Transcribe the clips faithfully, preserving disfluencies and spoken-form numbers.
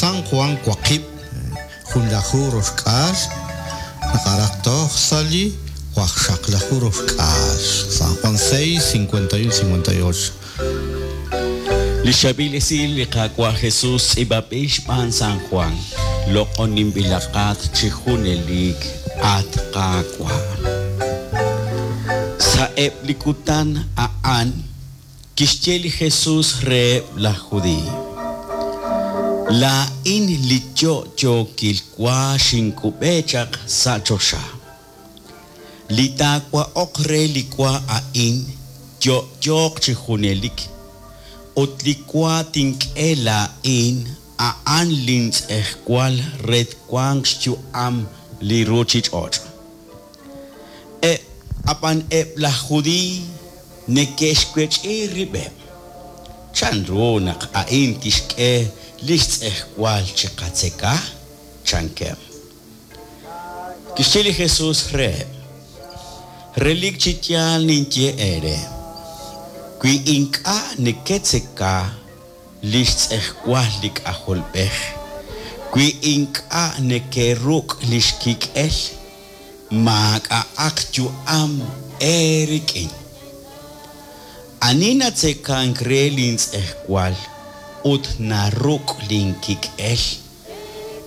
San Juan waqib' junlaju roxk'aal naqaraq toj sa' li waqxaqlaju roxk'aal. San Juan seis, cincuenta y uno, cincuenta y ocho. Li xabil esil li Qaawa' Jesus tz'iib'anb'il xb'aan San Juan, loq'oninb'ilaqat chi junelik at Qaawa'. Sa'eb' li kutan a'an kixye li Jesus reheb' laj Judiiy: Laa'in li yo'yookil wa xinkub'e chaq sa' choxa. Li taawa'oq re li wa a'in yo'yooq chi junelik, ut li wa tink'e laa'in a'an lintz'ejwal re twanq xyu'am li ruuchich'och'. Eb' ab'an eb' laj Judiiy neke'xwech'i rib'eb'. Chanru naq a'in tixk'e li xtz'ejwal chiqatzeka? Chankeb'. Kixye li Jesus reheb': Relik chi yaal ninye eere, wi ink'a' neketzeka li xtz'ejwal li K'ajolb'ej, wi ink'a' nekeruk' li xkik'el, maak'a'aq yu'am eerik'in. Ani natzekank re lintz'ejwal ut naruk' linkik'el,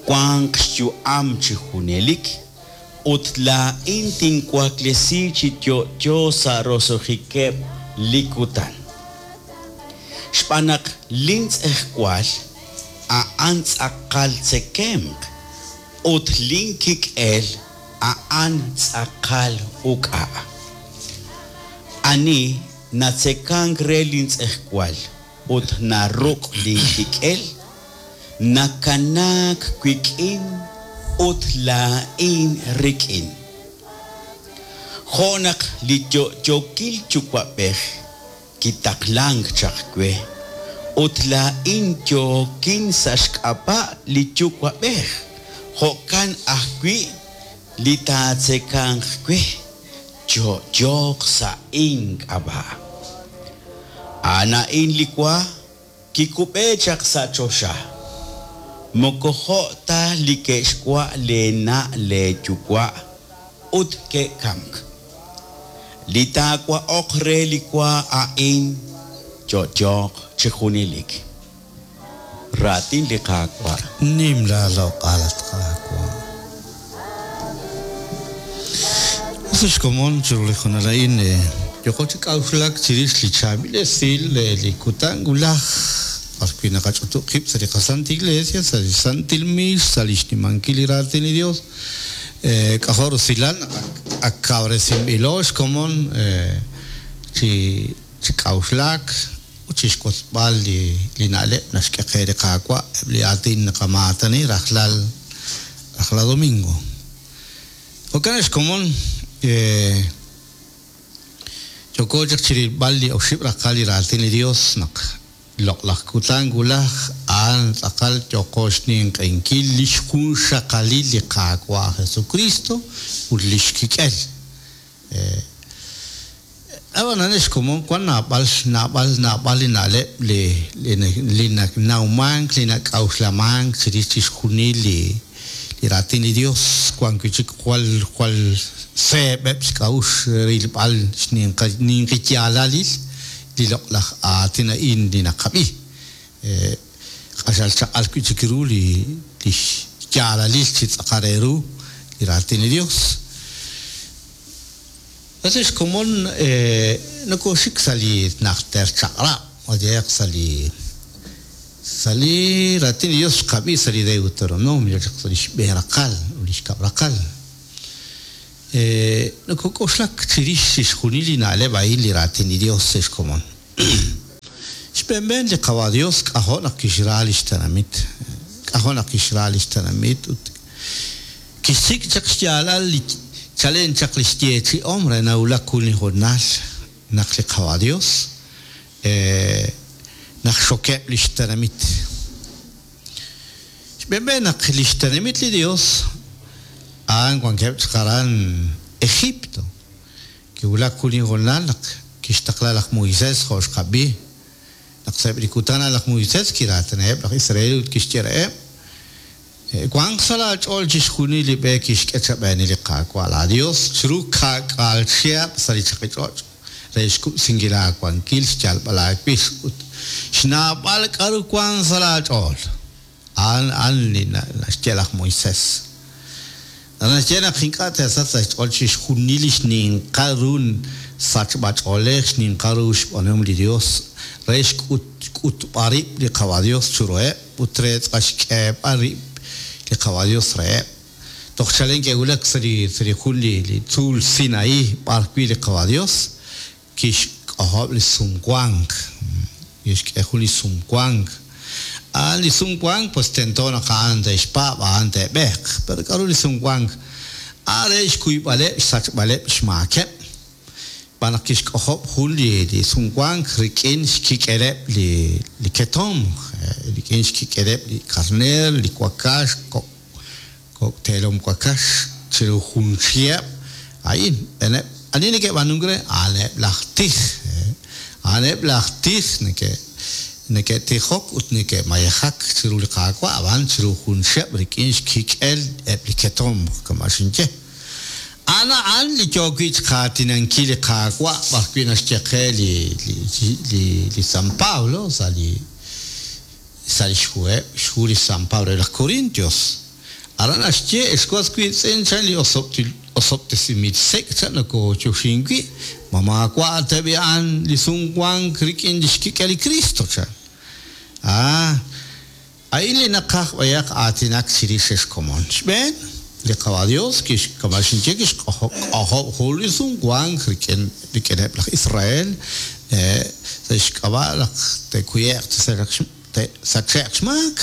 wanq xyu'am chi junelik, ut laa'in tinwaklesi chi yo'yo sa' roso'jikeb' li kutan. Xb'aan naq lintz'ejwal a'an tz'aqal tzekemq ut linkik'el a'an tz'aqal uk'a'. Ani natzekank re lintz'ejwal ut naruk' linkik'el, nakanaak wik'in ut laa'in rik'in. Jo' naq li yo'yookil yuwa'b'ej kitaqlank chaq we, ut laa'in yookin sa' xk'ab'a' li yuwa'b'ej, jo'kan ajwi' li taatzekanq we, yo'yooq sa' ink'ab'a'. A'an a'in li wa kikub'e chaq sa' choxa, moko jo' ta li ke'xwa' leena' leeyuwa' ut ke'kamk. Li taawa'oq re li wa a'in yo'yooq chi junelik. Raatin li Qaawa'. Nim laaloq'al at Qaawa'. Sa' xkomon chiru li junal a'in yoko chi k'a'uxlak chirix li chaab'il esil li kutan wulaj b'arwi' naqach'utu' qib' sa' li qaSanta Iglesia, sa' li Santil Miix, sa' li xnimankil li raatin li Dios. K'ajo' rusilal naq ak kawresinb'ilo xkomon chi chi k'a'uxlak ut chixwotzb'al li li na'leb' naxk'e qe li Qaawa' eb' li aatin naqamaatani rajlal rajlal domingo. Jo'kan xkomon yoko chaq chirilb'al li oxib' raqal li raatin li Dios naq loq'laj kutan wulaj a'an tz'aqal yoko xninq'enkil li xjunxaqalil li Qaawa' Jesucristo ut li xkik'el. Ab'anan xkomon wan naab'al naab'al naab'al li na'leb' li li nanawmank li nak'a'uxlamank chirix chixjunil li li raatin li Dios wan wi' chik jwal jwal seeb'eb' xk'a'uxl rilb'al xninqiyaalalil li loq'laj aatin a'in li naqab'i. Q'axal chaq'al wi' chik ru li li xyaalalil chi tz'aqal re ru li raatin li Dios. Ese xkomon nokoxik sa' li najter chaq'rab', oyeq sa' li sa' li raatin li Dios xqab'i sa' li Deuteronomio chaq sa' li xb'een raqal ut li xkab' raqal. Nokok'oxlak chirix chixjunil li na'leb' a'in li raatin li Dios sa' xkomon. Xb'eenb'een li Qawa' Dios k'ajo' naq kixra li xtenamit, k'ajo' naq kixra li xtenamit ut kixsik' chaq xyaalal li chalen chaq li xyeechi'om re nawulak jun li jornal naq li Qawa' Dios naq xokeb' li xtenamit. Xb'eenb'een naq li xtenamit li Dios a'an wankeb' chaq aran Egipto. Kiwulak jun li jornal naq kixtaqla laj Moisés jo' xqab'i. Naq sa'eb' li kutan laj Moisés kiraatinaheb' laj Israel ut kixye reheb' Wanq sa' laach'ool chixjunil li b'e kixk'e chab'eeni li Qaawa' laaDios chiru ka'k'aal chihab' sa' li chaqich'och' re xkub'sinkil aawankil xyalb'al aawix ut xnaab'al k'aru wank sa' laach'ool. A'an a'an li naxye laj Moisés. Naxye naq ink'a' teesach sa' xch'ool chixjunil li xninqal ru sachb'ach'oolej xninqal ru xb'aanuhom li Dios re xk'utb'al rib' li Qawa' Dios chiruheb' ut re xk'eeb'al rib' li Qawa' Dios reheb'. Toj chalen ke'wulak sa' li sa' li jun li li tzuul Sinaí b'ar wi' li Qawa' Dios kixk'ojob' li sumwank, kixk'e jun li sumwank. A'an li sumwank pues tento naq a'an te'xpaab', a'an te'b'eeq. Pero k'aru li sumwank? A'an re xkuyb'aleb' xsachb'aleb' xmaakeb'. B'an naq kixk'ojob' jun li li sumwank rik'in xkik'eleb' li li ketomq, rik'in xkik'eleb' li karneer, li wakax, kok' kok' teelom wakax chiru jun chihab'. A'in, ani neke'b'aanunk re? A'aneb' laj tij. A'aneb' laj tij neke' neke'tijok ut neke'mayejak chiru li Qaawa' ab'an chiru jun chihab' rik'in xkik'el eb' li ketomq kama' xinye. A'an a'an li yook wi' xqaatinankil li Qaawa' b'ar wi' naxye qe li li li li San Pablo sa' li sa' li xhuheb' xhu li San Pablo re laj Corintios. Aran naxye ex was wiitz'in chan li osob'tesinb'il sek' chan nakoochoxin wi' ma maawa' teb'i a'an li sumwank rik'in li xkik'el li Cristo chan. Ah, a'in li naqaj b'ayaq aatinak chirix ex komon. Xb'een, li Qawa' Dios kixkama xinye kixk'ojob' jun li sumwank rik'in rik'ineb' laj Israel sa' xk'ab'a' naq te'kuye'q te'sache'q xmaak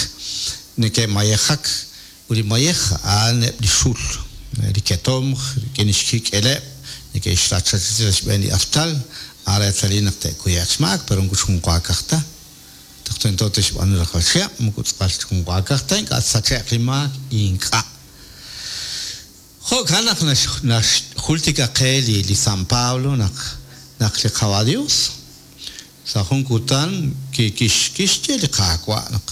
neke'mayejak ut li mayej a'an eb' li xul li ketomq rik'in xkik'eleb' neke'xrachachisi sa' xb'een li artal a'an reetalil naq te'kuye'q xmaak pero moko xjunwaakaj ta. Toj tento te'xb'aanu rajlal chihab' moko tz'aqal xjunwaakaj ta ink'a' tsache'q li maak ink'a'. Jo'kan naq naxjultika qe li li San Pablo naq naq li Qawa' Dios sa' jun kutan kixye li Qaawa' naq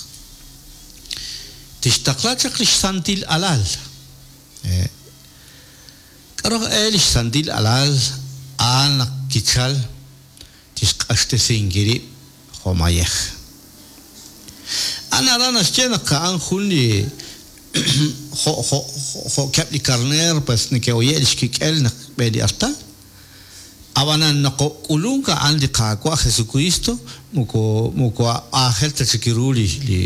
tixtaqla chaq li xsantil alal. K'aru e li xsantil alal a'an naq kichal tixq'axtesinkil rib' jo' mayej. A'an aran naxye naq a'an jun li jo' jo' jo'keb' li karneer pues neke'oye' li xkik'el naq b'e li artal. Ab'anan naqok'ulunk a'an li Qaawa' Jesucristo moko moko aajel ta chik ru li li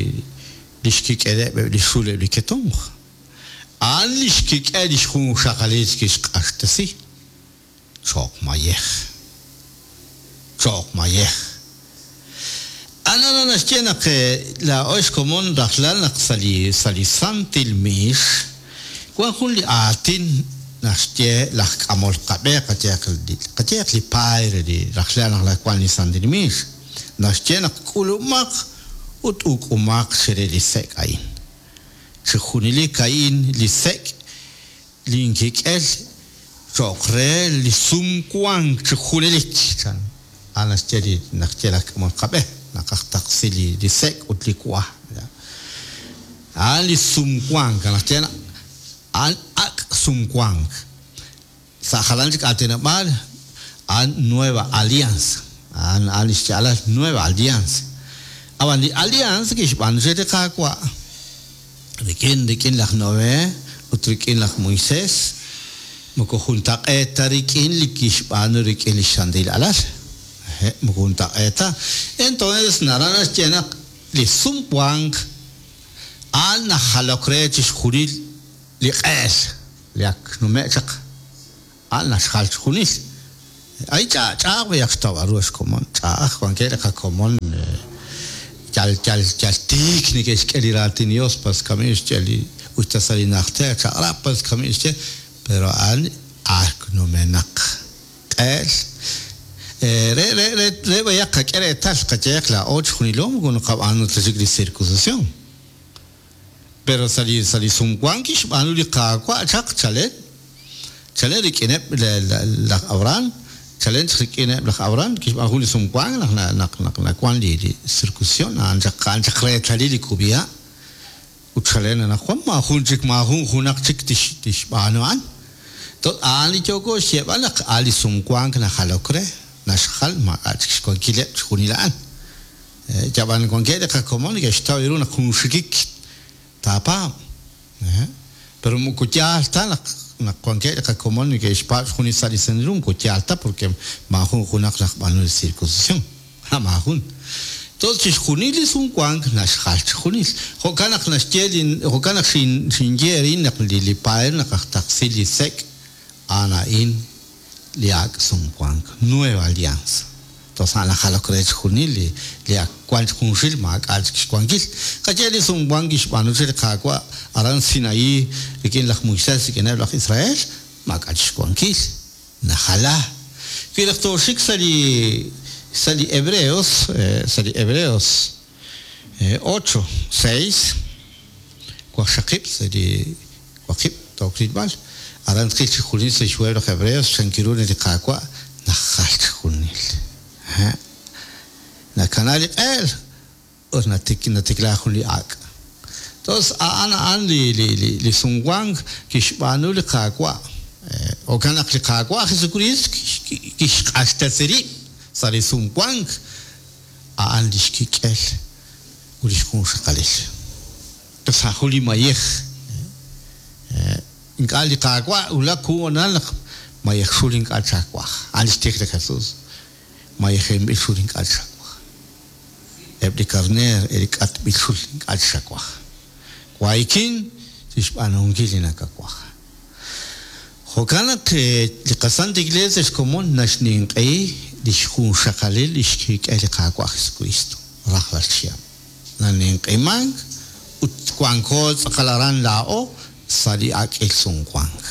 li xkik'eleb' li xul eb' li ketomq. A'an li xkik'el li xjunxaqalil kixq'axtesi cho'q mayej. Cho'q mayej. A'an naxye naq laa'o xkomon rajlal naq sa' li sa' li santil miix wan jun li aatin naxye laj k'amol qab'e qayeq qayeq li padre li rajlal naq wan li santil miix naxye naq k'ulumaq ut uk'umaq chire li sek' a'in. Chi junelik a'in li sek' li inkik'el cho'q re li sumwank chi junelik chan. A'an naxye li naxye laj k'amol qab'e naq taqsi li li sek' ut li wa. A'an li sumwank naxye a'an ak' sumwank. Sa' jalan chik aatinob'aal a'an nueva alianza. A'an a'an li xyaalal nueva alianza. Ab'an li alianza kixb'aanu li Qaawa' rik'in rik'in laj Noé ut rik'in laj Moisés moko juntaq'eet ta rik'in li kixb'aanu rik'in li xsantil alal. Moko juntaq'eet ta. Entonces naran naxye naq li sumwank a'an najalok re chixjunil li q'eel li ak nume' chaq a'an naxjal chixjunil. Ay ch'a'aj b'ayaq xtawb'al ru xkomon ch'a'aj wankeb' li qakomon yal yal yal tiik neke'xk'e li raatin Dios pas kami xye li usta sa' li najter chaq'rab' pas kami xye pero a'an ak numenaq q'eel. Re re re re b'ayaq qak'e reetal qayeq laa'o chixjunilo moko naqab'aanu ta chik li circuncisión. Pero sa' li sa' li sumwank kixb'aanu li Qaawa' chaq chalen chalen rik'ineb' laj Abraham chalen chaq rik'ineb' laj Abraham kixb'aanu jun li sumwank naq naq naq nawan li li circuncisión a'an chaq a'an chaq reetalil li kub'iha' Ut chalen anaqwan maajun chik maajun junaq chik tixb'aanu a'an. A'an li yooko xyeeb'al naq a' li sumwank najalok re, naxjal maak'a' chik xwankileb' chixjunil a'an. Yab'an wankeb' li qakomon neke'xtaw ru naq jun xikik taapaab'. Pero moko yaal ta naq naq wankeb' li qakomon neke'xpaab' chixjunil sa' li Santil Hu, moko yaal ta porque maajun junaq laj b'aanul circuncisión. Ha maajun. Entonces chixjunil li sumwank naxjal chixjunil. Jo'kan naq naxye li jo'kan naq xinye erin naq li li paer naq aj taqsil li sek' a'an a'in li ak' sumwank, nueva alianza. Entonces a'an najalok re chixjunil li li ak wan junxil maak'a' chik xwankil. Qaye li sumwank kixb'aanu chi li Qaawa' aran Sinaí rik'in laj Moisés rik'ineb' laj Israel maak'a' chik xwankil. Najala. Wi naq tooxik sa' li sa' li Hebreos, sa' li Hebreos ocho, seis, waqxaqib' sa' li waqib' tookrilb'al. Aran tqil chixjunil sa' xhuheb' laj Hebreos chankiru li Qaawa' najal chixjunil. Nakana li q'eel ut natikla jun li ak'. Entonces a'an a'an li li li li sumwank kixb'aanu li Qaawa'. Jo'kan naq li Qaawa' Jesucristo kixq'axtesi rib' sa' li sumwank a'an li xkik'el ut li xjunxaqalil. Entonces a'an jun li mayej. Ink'a' li Qaawa' wulak jun naq mayej xul ink'a' chawaj. A'an li xtij li Jesús. Mayejenb'il xul ink'a' chawaj. Eb' li karneer, eb' li k'atb'il xul ink'a' chawaj. Waykin tixb'aanunkil li nakawaj. Jo'kan naq li qasant Iglesia xkomon naxninq'ehi li xjunxaqalil li xkik'el li Qaawa' Jesucristo rajlal chihab'. Naninq'imank ut wanko tz'aqal aran laa'o sa' li ak'il sumwank.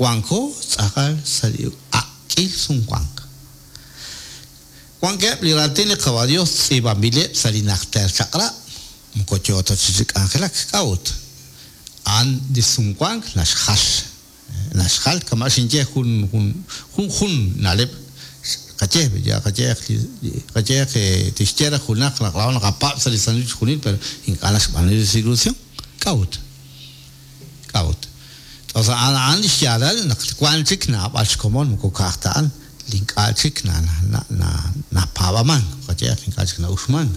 Wanko tz'aqal sa' li ak'il sumwank. Wankeb' li raatin li Qaawa' Dios tz'iib'anb'ileb' sa' li najter chaq'rab'. Moko yoo ta chi k'anjelak k'a'ut. A'an li sumwank naxjal. Naxjal kama' xinye jun jun jun jun na'leb' qaye ya qaye qaye tixye raj junaq naq laa'o naqapaab' sa' li Santil chixjunil pero ink'a' naxb'aanu li circuncisión. K'a'ut. K'a'ut. Entonces a'an a'an li xyaalal naq wan chik naab'al xkomon moko ka'aj ta a'an li ink'a' chik na na na napaab'amank qaye ink'a' chik na'uxmank.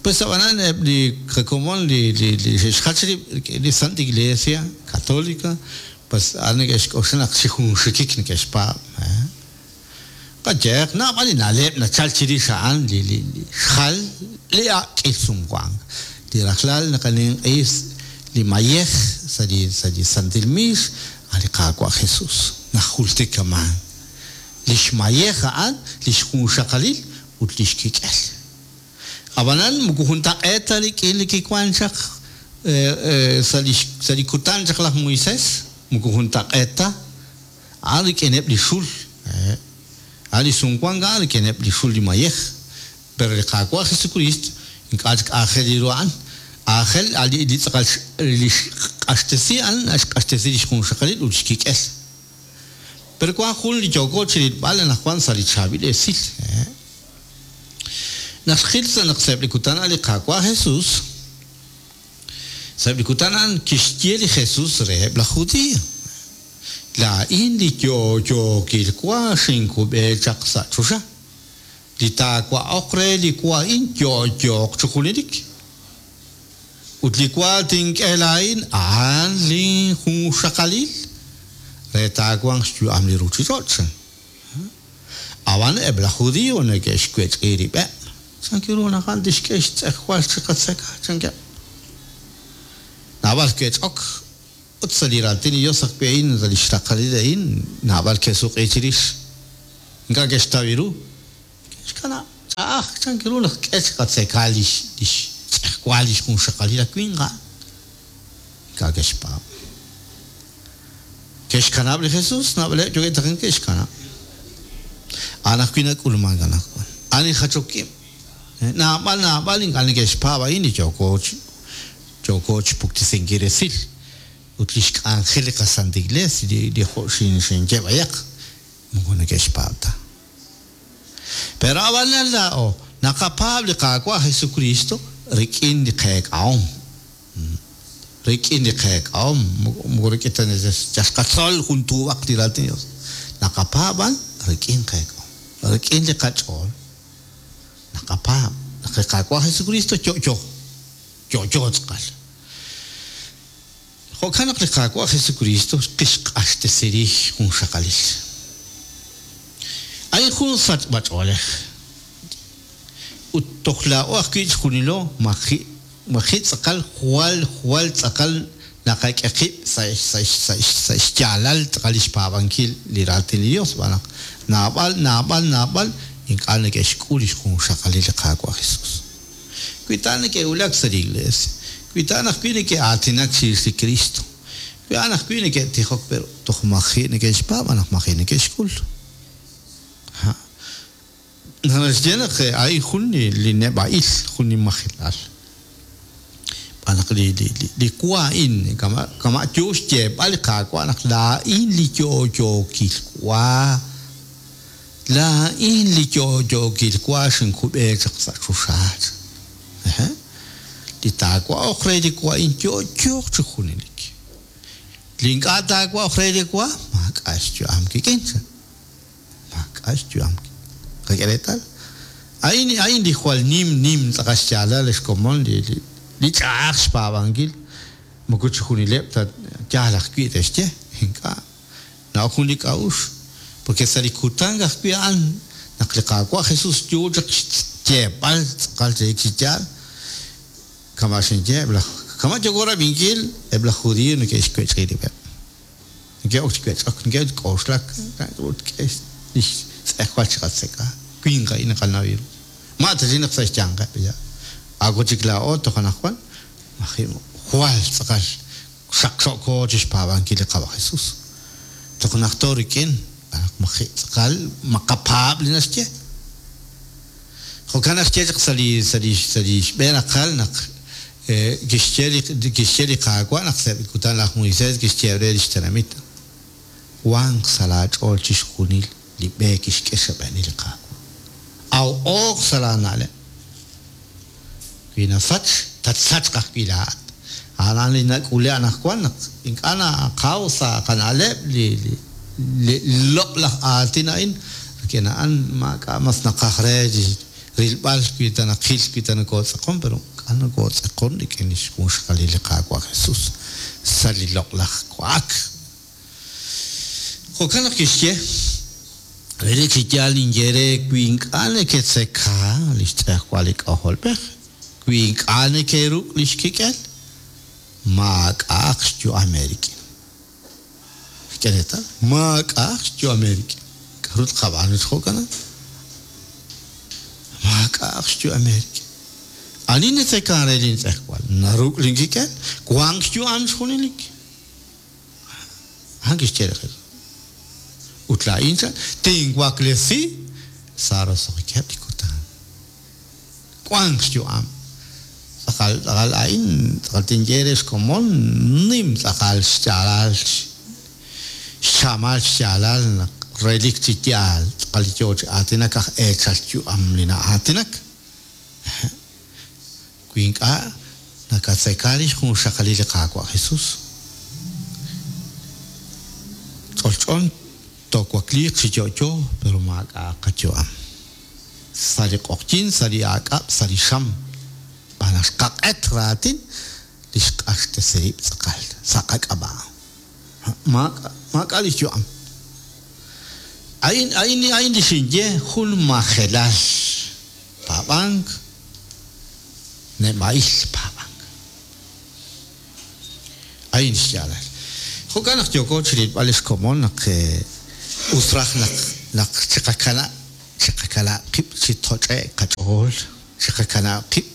Pues ab'anan eb' li qakomon li li li xe'xjach rib' li Santa Iglesia Católica pues a'an neke'xk'oxla naq chi jun xikik neke'xpaab'. Qayeq naab'al li na'leb' nachal chirix a'an li li xjal li ak'il sumwank. Li rajlal naqaninq'is li mayej sa' li sa' li Santil Miix a' li Qaawa' Jesús najultikaman. Li xmayej a'an li xjunxaqalil ut li xkik'el. Ab'anan moko juntaq'eet ta rik'in li kiwan chaq sa' li sa' li kutan chaq laj Moisés moko juntaq'eet ta a'an rik'ineb' li xul. A'an li sumwank a'an rik'ineb' li xul li mayej. Pero li Qaawa' Jesucristo ink'a' chik aajel ru a'an. Aajel li li tz'aqal li xq'axtesi a'an naxq'axtesi li xjunxaqalil ut xkik'el. Pero wan jun li yooko chirilb'al anaqwan sa' li chaab'il esil. Naq xqil sa' naq sa'eb' li kutan a'an li Qaawa' Jesús, sa'eb' li kutan a'an kixye li Jesús reheb' laj Judío. Laa'in li yo'yookil wa xinkub'e chaq sa' choxa. Li taawa'oq re li wa a'in yo'yooq chi junelik. Ut li wa tink'e laa'in a'an li junxaqalil re taawanq xyu'am li ruuchich'och'. Ab'an eb' laj Judío neke'xwech'i rib'eb'. Chankiru naq a'an tixk'e xtz'ejwal chi qatzeka chankeb'. Naab'al ke'ch'ok ut sa' li raatin li Dios ajwi' a'in sa' li xraqalil a'in naab'al ke'suq'i chirix. Ink'a' ke'xtaw ru. Ke'xkanab' ch'a'aj chankiru naq k'e chi qatzeka li xtz'ejwal li xjunxaqalil aj winq a'an. Ink'a' ke'xpaab'. Ke'xkanab' li Jesús naab'aleb' yookeb' taqen ke'xkanab'. A'an ajwi' nak'ulmank anaqwan. A'an li jachok ib'. Naab'al naab'al ink'a' neke'xpaab' a'in li yooko yooko chpuktisinkil resil. Ut li xk'anjel li qasanta Iglesia li li jo' xin xinye b'ayaq moko neke'xpaab' ta. Pero ab'anan laa'o naqapaab' li Qaawa' Jesucristo rik'in li qeek'ahom. Rik'in li qeek'ahom, moko rik'in ta yal xqatzol jun tuub'aq li raatin Dios. Naqapaab' b'an rik'in qeek'ahom, rik'in li qach'ool. Naqapaab' naq li Qaawa' Jesucristo yo'yo, yo'yo tz'aqal. Jo'kan naq li Qaawa' Jesucristo kixq'axtesi rix jun xaqalil. A'in jun sachb'ach'oolej. Ut toj laa'o ajwi' chjunilo maji' maji' tz'aqal jwal jwal tz'aqal naqak'e qib' sa' sa' sa' sa' xyaalal tz'aqal lix paab'ankil li raatin li Dios b'an naq naab'al naab'al naab'al ink'a' neke'xk'ul lix junxaqalil li Qaawa' Jesus. Wi ta neke'wulak sa' li iglesia, wi ta ajwi' neke'aatinak chirix li Cristo, wi a'an ajwi' neke'tijok pero toj maji' neke'xpaab' naq maji' neke'xk'ul. Ha. Naxye naq a'in jun li li neb'a'il, jun li majilal. B'an naq li li li li wa a'in kama' kama' yo xyeeb'al li Qaawa' naq laa'in li yo'yookil wa, laa'in li yo'yookil wa xinkub'e chaq sa' choxaal. Ehe. Li taawa'oq re li wa a'in yo'yooq chi junelik. Li ink'a' taawa'oq re li wa, maak'a' xyu'am kik'in. Maak'a' xyu'am. Qak'e reetal. A'in a'in li jwal nim nim tz'aqal xyaalal xkomon li li li ch'a'aj xpaab'ankil. Moko chi junileb' ta yaal ajwi' te'xye, ink'a'. Na'ok jun li k'a'uxl. Porque sa' li kutan ajwi' a'an naq li Qaawa' Jesus yo chaq xyeeb'al tz'aqal relik chi yaal, kama' xinye eb' laj kama' yooko rab'inkil eb' laj judío neke'xwech'i rib'eb'. Neke'ok chi wech'ok, neke'ok chi k'oxlak, ut k'e lix tz'ejwal chiqatzeka. Winq a'in naqanaw ru. Ma ta chi naq sa' xyanqeb' ya. Ako chik laa'o toj anaqwan, maji' jwal tz'aqal xaqxo'ko chi xpaab'ankil li Qaawa' Jesus. Toj najto rik'in, naq maji' tz'aqal maqapaab' li naxye. Jo'kan naxye chaq sa' li sa' li sa' li xb'een aqal naq kixye li kixye li Qaawa' naq sa' li kutan laj Moisés kixye re lix tenamit. Wanq sa' laach'ool chixjunil li b'e kixk'e xb'een li Qaawa'. Aw oq sa' laana'leb'. Wi nasach, tatsachq ajwi' laa'at. A'an li nak'ule anaqwan naq ink'a' naqaw sa' qana'leb' li li li loq' laj aatin a'in, rik'in a'an maak'a' mas naqaj re rilb'al wi ta naqil wi ta nokootz'aqon, pero ink'a' nokootz'aqon rik'in lix junxaqalil li Qaawa' Jesus sa' li loq' laj wa'ak. Jo'kan naq kixye, relik chi yaal ninye re wi ink'a' neketzeka lix tz'ejwal li k'ajolb'ej, wi ink'a' nekeruk' lix kik'el, maak'a'aq xyu'am eerik'in. K'e reetal, maak'a'aq xyu'am eerik'in. K'aru tqab'aanu chi jo'kan? Maak'a'aq xyu'am eerik'in. Ani netzekan re lin tz'ejwal, naruk' lin kik'el, wanq xyu'am xjunelik. A'an kixye li Jesus. Ut laa'in chan, tinwaklesi sa' roso'jikeb' li kutan. Wanq xyu'am. Tz'aqal tz'aqal a'in, tz'aqal tinye re xkomon, nim tz'aqal xyaalal, xchamal xyaalal naq relik chi yaal, tz'aqal yo chi aatinak aj eechal yu'am li na'aatinak. Wi ink'a' nakatzeka lix junxaqalil li Qaawa' Jesus. Ch'olch'on toowakliiq chi yo'yo, pero maak'a' qayu'am. Sa' li q'oqyin, sa' li aak'ab', sa' li xam. B'an naq xqaq'et raatin, li xq'axtesi rib' tz'aqal sa' qak'ab'a'. Maak'a' maak'a' lix yu'am. A'in a'in a'in li xinye jun majelal paab'ank, neb'a'il paab'ank. A'in xyaalal. Jo'kan naq yooko chi rilb'al lix komon naq us raj naq naq chiqakana' chiqakana' qib' chi toch'e'k qach'ool, chiqakana' qib'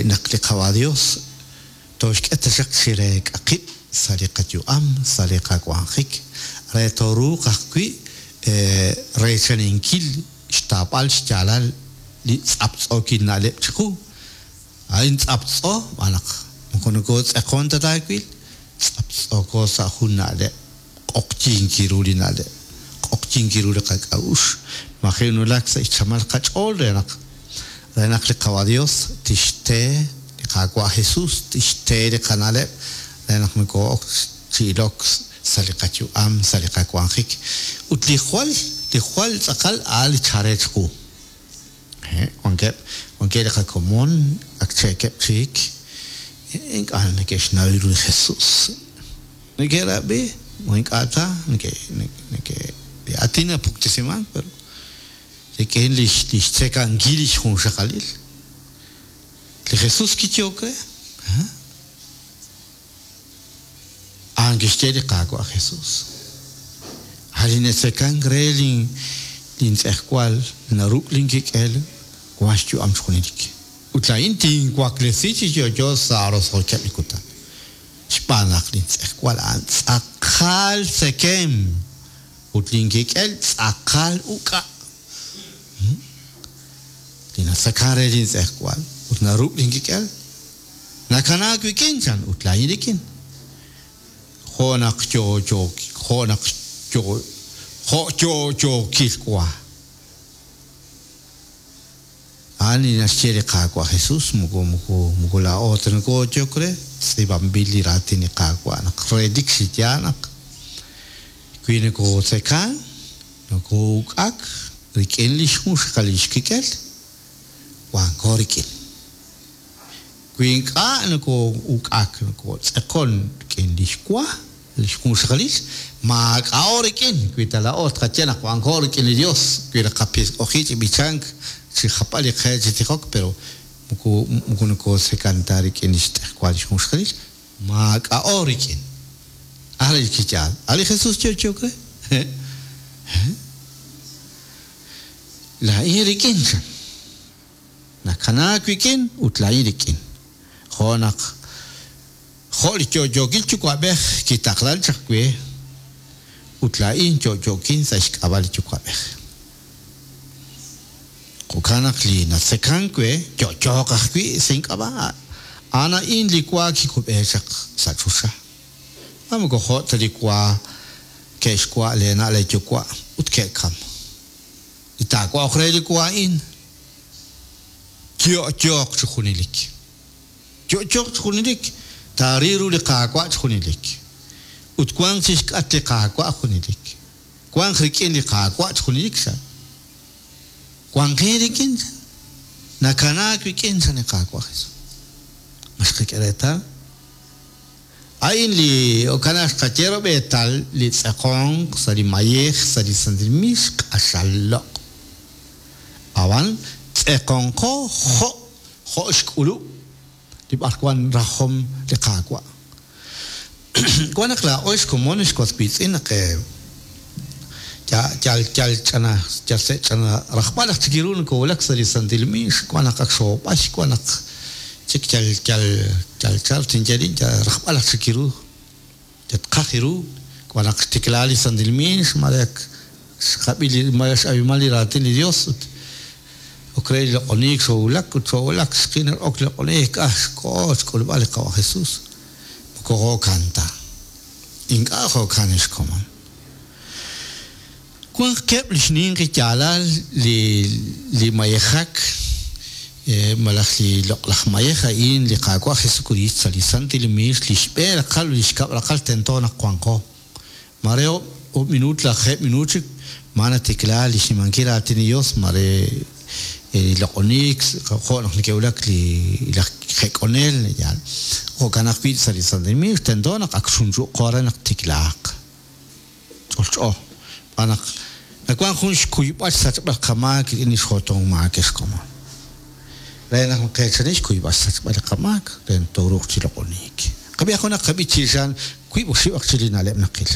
naq li Qaawa' Dios toxk'e taxaq chi reek'a qib' sa' li qayu'am, sa' li qawanjik, re tooruuq ajwi' reechaninkil xtaab'al xyaalal li tz'aptz'ookil na'leb' chiqu. A'in tz'aptz'o, b'an naq moko nokootz'eqon ta taawil, tz'aptz'ooko sa' jun na'leb', q'oqyink ru li na'leb', q'oqyink ru li qak'a'uxl, maji' nulak sa' xchamal qach'ool re naq Re naq li Qawa Dios tixte li Qaawa' Jesus tixte li qana'leb' re naq noko'ok chi ilok sa' li qayu'am, sa' li qawanjik. Ut li jwal, li jwal tz'aqal a'an li chare chiqu. Wankeb', wankeb' li qakomon ak cheekeb' chik, ink'a' neke'xnaw ru li Jesus. Neke'rab'i, o ink'a' ta, neke' neke' li aatin napuktesiman, pero rik'in lix lix tzekankil lix junxaqalil. Li Jesus kiyehok re. A'an kixye li Qaawa' Jesus. A' li natzekank re lin lin tz'ejwal naruk' lin kik'el wan xyu'am chi junelik. Ut laa'in tinwaklesi chi yo'yo sa' roso'jikeb' li kutan. Xb'aan naq lin tz'ejwal a'an tz'aqal tzekem ut lin kik'el tz'aqal uk'a'. Li natzekan re lin tz'ejwal ut naruk' lin kik'el nakanaak wik'in chan ut laa'in rik'in. Jo' naq yo'yo jo' naq yo jo' yo'yookil wa. A'an li naxye li Qaawa' Jesus, moko moko moko laa'o ta nokoyok re, tz'iib'anb'il li raatin li Qaawa' naq relik chi yaal naq wi nokotzekan, noko'uk'ak rik'in lix junxaqalil lix kik'el, wanko rik'in. Wi ink'a' noko'uk'ak, nokotz'eqon rik'in lix wa, lix junxaqalil, maak'a'o rik'in. Wi ta laa'o tqaye naq wanko rik'in li Dios, wi naqapisq'oji chi b'ichank, chi jap'al li qe chi tijok, pero moko moko nokotzekan ta rik'in lix tz'ejwal lix junxaqalil, maak'a'o rik'in. A' li kiyaal. A' li Jesus yo'yook re. Laa'in rik'in chan. Nakanaak wik'in ut laa'in rik'in. Jo' naq jo' li yo'yookil yuwa'b'ej kitaqlan chaq we ut laa'in yo'yookin sa' xk'ab'a' li yuwa'b'ej. Jo'kan naq li natzekank we yo'yooq ajwi' sa' ink'ab'a'. A'an a'in li wa kikub'e chaq sa' choxa. Ma moko jo' ta li wa ke'xwa' leena' leeyuwa' ut ke'kam. Li taawa'oq re li wa a'in yo'yooq chi junelik. Yo'yooq chi junelik, taaril ru li Qaawa' chi junelik. Ut wanq chixk'at li Qaawa' junelik. Wanq rik'in li Qaawa' chi junelik chan. Wanqin rik'in chan. Nakanaak wik'in chan li Qaawa' Jesus. Ma xqak'e reetal? A'in li jo'kan xqaye rob'eetal li tz'eqonq sa' li mayej sa' li santil miix q'axal loq'. Ab'an tz'eqonqo jo' jo' xk'ulub' li b'arwan rajom li Qaawa'. Wan naq laa'o xkomon xwas wiitz'in naq yal yal ch'ana yal se' ch'ana rajb'al aj chik ru nokowulak sa' li santil miix, wan naq ak xoob'ay, wan naq chik yal yal yal chal tinye rin yal rajb'al aj chik ru yatqaj ru, wan naq xtiklaa li santil miix, mare ak xqab'i li mare x'ab'iman li raatin li Dios ut ok re li loq'oniik xoowulak ut xoowulak xqin ok li loq'oniik ah xko'o xk'ulb'al li Qawa' Jesus. Moko jo'kan ta. Ink'a' jo'kan xkomon. Wanq keb' li xninqi yaalal li li mayejak malaj li loq'laj mayej a'in li Qaawa' Jesucristo sa' li santil miix li xb'een raqal li xkab' raqal tento naq wanqo. Mare oob' minuut lajeeb' minuut chik ma natiklaa li xnimankil raatin li Dios mare li loq'oniik jo' naq neke'wulak li laj jek'onel yaal. Jo'kan ajwi' sa' li santil miix tento naq ak xunchu'qo re naq tiklaaq. Ch'olch'o. B'aan naq nawank jun xkuyb'al xsachb'al qamaak rik'in li xjotong maak xkomon. Re naq nqeechani xkuyb'al xsachb'al li qamaak re tooruuq chi loq'oniik. Qab'i junaq qab'i chi xan wiib' oxib' aj chi li na'leb' naqil.